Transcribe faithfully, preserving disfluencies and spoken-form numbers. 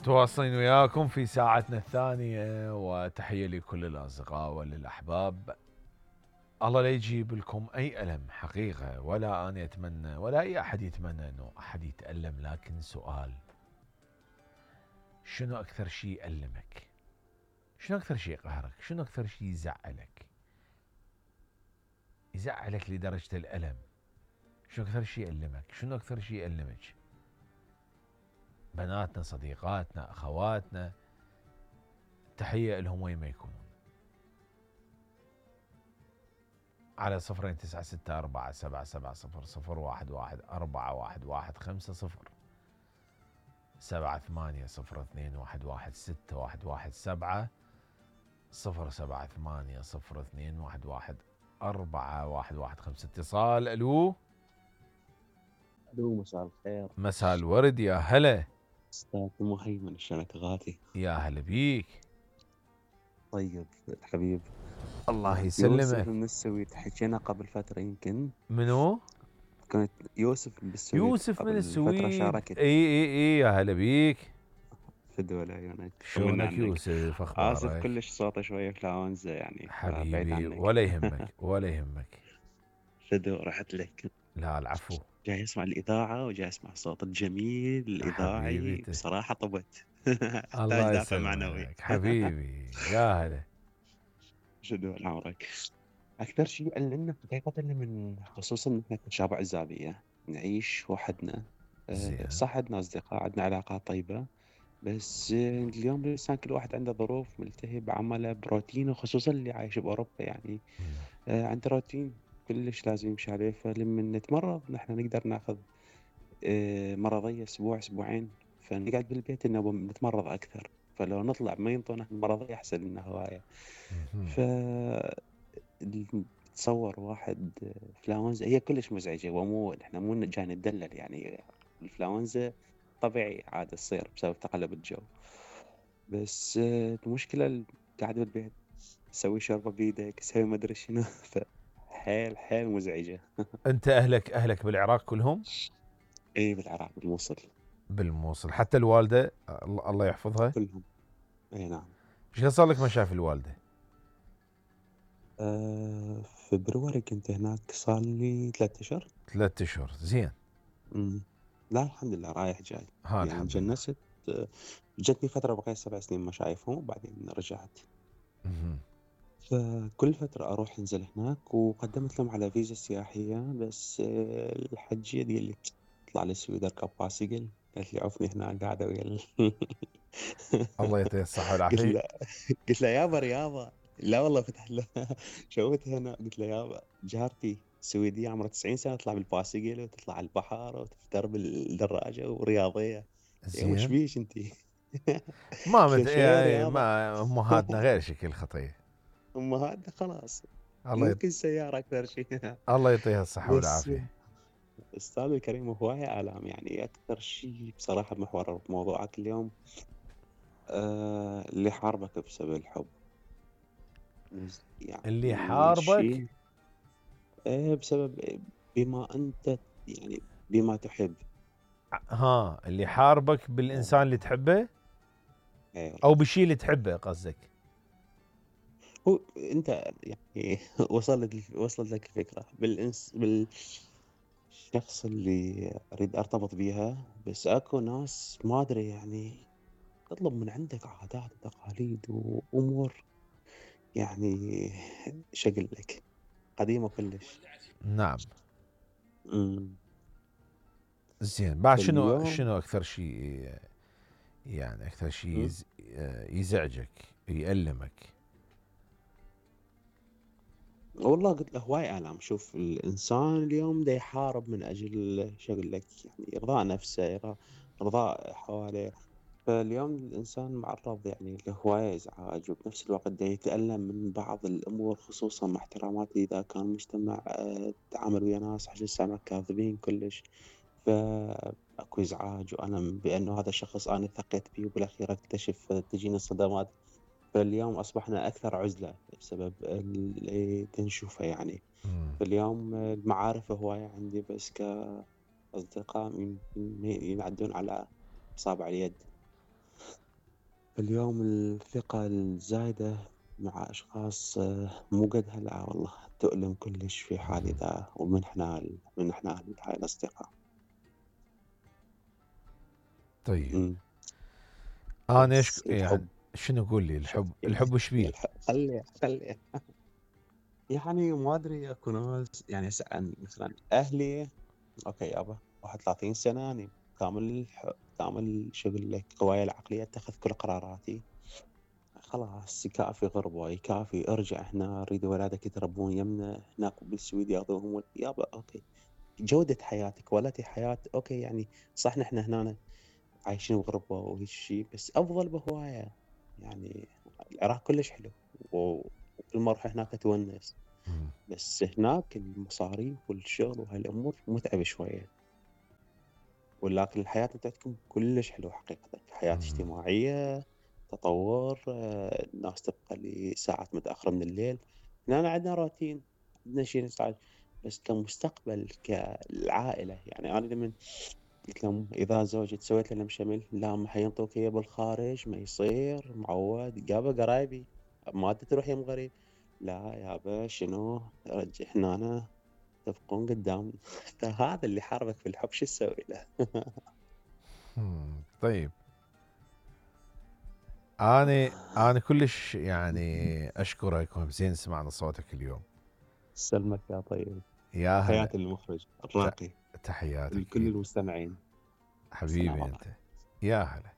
تواصلين وياكم في ساعتنا الثانية، وتحية لكل الأصدقاء وللأحباب. الله لا يجيب لكم أي ألم حقيقة، ولا أنا أتمنى ولا أي أحد يتمنى أنه أحد يتألم، لكن سؤال: شنو أكثر شيء يألمك؟ شنو أكثر شيء يقهرك؟ شنو أكثر شيء يزعلك؟ يزعلك لدرجة الألم. شنو أكثر شيء يألمك؟ شنو أكثر شيء يألمك؟ بناتنا، صديقاتنا، أخواتنا، تحية لهم وين ما يكونون. على صفرين تسعة ستة أربعة سبعة سبعة صفر صفر واحد واحد أربعة واحد واحد خمسة صفر سبعة ثمانية صفر اثنين واحد واحد ستة واحد واحد سبعة صفر سبعة ثمانية صفر اثنين واحد واحد أربعة واحد واحد خمسة. اتصال. ألو. ألو، مساء الخير. مساء الورد، يا هلا. أستاذ مهيمن، شلونك غالي؟ يا هلا بيك. طيب الحبيب. الله يوسف يسلمك. من السويد، حكينا قبل فترة يمكن. منو؟ كنت يوسف من السويد. يوسف من قبل فترة السويد. شاركت. اي اي اي يا هلا بيك. فدوى لعيونك. شلونك يوسف؟ آسف اخبارك؟ كلش صوته شوية فلاونزا يعني، بعيد حبيبي، عنك. ولا يهمك ولا يهمك. فدوى رحت لك. لا العفو. جاي اسمع الإذاعة وجاي اسمع الصوت الجميل حبيبي الإذاعي، ت... بصراحة طبت. احتاج الله دافع معنوي. يسلمك حبيبي. يا هلا. شدوا عمرك. أكثر شيء يألمنا حقيقة اللي من خصوصا إحنا كشباب عزابية نعيش وحدنا. أه، زين. صح عندنا أصدقاء، عندنا علاقات طيبة، بس أه، اليوم الإنسان كل واحد عنده ظروف، ملتهي بعمله بروتينه، خصوصا اللي عايش بأوروبا يعني. أه، عنده روتين كلش لازم يمشي عليه، فلما نتمرض نحن نقدر ناخذ أه، مرضية أسبوع أسبوعين، فنقعد بالبيت إنه نتمرض أكثر، فلو نطلع ما ينطونا المرضية أحسن لنا هواية. ف تصور واحد انفلونزا هي كلش مزعجة، ومو احنا مو جاي ندلل يعني. الانفلونزا طبيعي عادة تصير بسبب تقلب الجو، بس آه، المشكلة ال- قاعد بالبيت تسوي شوربة بيدك، تسوي ما ادري شنو. فحيل حيل مزعجة. انت اهلك اهلك بالعراق كلهم؟ ايه بالعراق بالموصل. بالموصل. حتى الوالده الله الله يحفظها. كلهم. اي نعم. ايش قد صار لك ما شاف الوالده؟ آه فبروري كنت هناك، صار لي ثلاثة اشهر. ثلاثة اشهر. زين. مم. لا الحمد لله رايح جاي. ها يعني الحمد لله. تجنست. آه، جتني فترة بقيت سبع سنين ما شايفهم، وبعدين رجعت. مهم. فكل فترة أروح أنزل هناك، وقدمت لهم على فيزا سياحية، بس آه، الحجية تقول لي اطلع للسويد اركب بايسكل. قالت لي عفني هنا قاعدة ويا ال- الله يعطيه الصحه قلت والعافيه. له قلت له يابا رياضة. لا والله فتح له. شوفت هنا قلت له يابا جارتي سويدية عمرها تسعين سنة تطلع بالبايسكل وتطلع على البحر وتفتر بالدراجة ورياضية. يا وش زين. بيش انتي؟ ما قلت له مت... شوية يعني رياضة. ما امهاتنا غير شكل خطيه. امهاتنا خلاص الله يط... ممكن سيارة اكثر شيء. الله يعطيها الصحه بس والعافيه. استاذ الكريم، هواية آلام يعني. اكثر شيء بصراحة محور موضوعك اليوم آه اللي حاربك بسبب الحب. اللي يعني حاربك. شيء آه بسبب بما انت يعني بما تحب. ها، اللي حاربك آه بالانسان اللي تحبه، اي او والله. بالشيء اللي تحبه قصدك؟ هو انت يعني وصلت وصلت لك الفكرة بالإنس بالشخص اللي اريد ارتبط بيها، بس اكو ناس ما ادري يعني تطلب من عندك عادات وتقاليد وامور يعني شقل لك قديمة كلش. نعم. امم زين. بعد شنو فاليوم شنو اكثر شيء، يعني اكثر شيء مم. يز... يزعجك، يألمك؟ والله قلت له هواي آلام. شوف الإنسان اليوم دا يحارب من أجل شغل لك يعني إرضاء نفسه، إرضاء إرضاء حواليه. فاليوم الإنسان معرض يعني لهواية إزعاج، وبنفس الوقت دا يتألم من بعض الأمور، خصوصا مع احتراماتي إذا كان مجتمع آه، تعامل ويا ناس حجي السمك كاذبين كلش. فأكو إزعاج وألم بأنه هذا الشخص أنا ثقيت فيه، وبالأخير أكتشف تجيني صدمات. فاليوم أصبحنا أكثر عزلة بسبب اللي تنشوفه يعني. مم. فاليوم المعارف هواية عندي، بس كأصدقاء ين- ين- ينعدون على أصابع اليد. اليوم الثقة الزايدة مع أشخاص آه، مو قد هلأ والله تؤلم كلش في حال مم. إذا ومن إحنا من إحنا هاي الأصدقاء. طيب إمم. انا أشك... بس يعني الحب شنو قول لي شوف الحب يعني الحب وش بيه؟ الح خلّي خلّي يعني ما أدري أكو ناس يعني هسه عن مثلًا أهلي أوكي يابا واحد وثلاثين سنة أني كامل الح كامل شو أقول لك قوايا العقلية أتخذ كل قراراتي. خلاص يكافي غربة، يكافي ارجع هنا أريد ولادك يتربون يمنا هناك بالسويد ياخذوهم ول يابا أوكي. جودة حياتك ولدي حياة أوكي يعني صح نحن هنا عايشين بغربة وهيك شي بس أفضل بهواية. يعني العراق كلش حلو و وكل ما أروح هناك أتونس. مم. بس هناك المصاريف والشغل وهاي الأمور متعبة شوية. ولكن الحياة بتاعتكم كلش حلوة حقيقة، حياة مم. اجتماعية، تطور، آه، الناس تبقى لساعات متأخرة من الليل. هنا عندنا روتين، عندنا شي نسعى. بس كمستقبل كالعائلة يعني أنا لمن قلت لهم إذا زوجي سويت لنا مشمل لا ما حينطوك إياه بالخارج ما يصير معود يابا قرايبي ما أنت تروح يم غريب. لا يابا شنو رجع هنا تبقون قدام. فهذا اللي حاربك في الحب شو تسوي له؟ مم. طيب انا انا كلش يعني اشكرك وزين سمعنا صوتك اليوم. سلمك يا طيب. يا هلا. تحياتي للمخرج ت- الراقي تحياتك ولكل اكيد. المستمعين. السلام حبيبي انت. عليكم. يا هلا.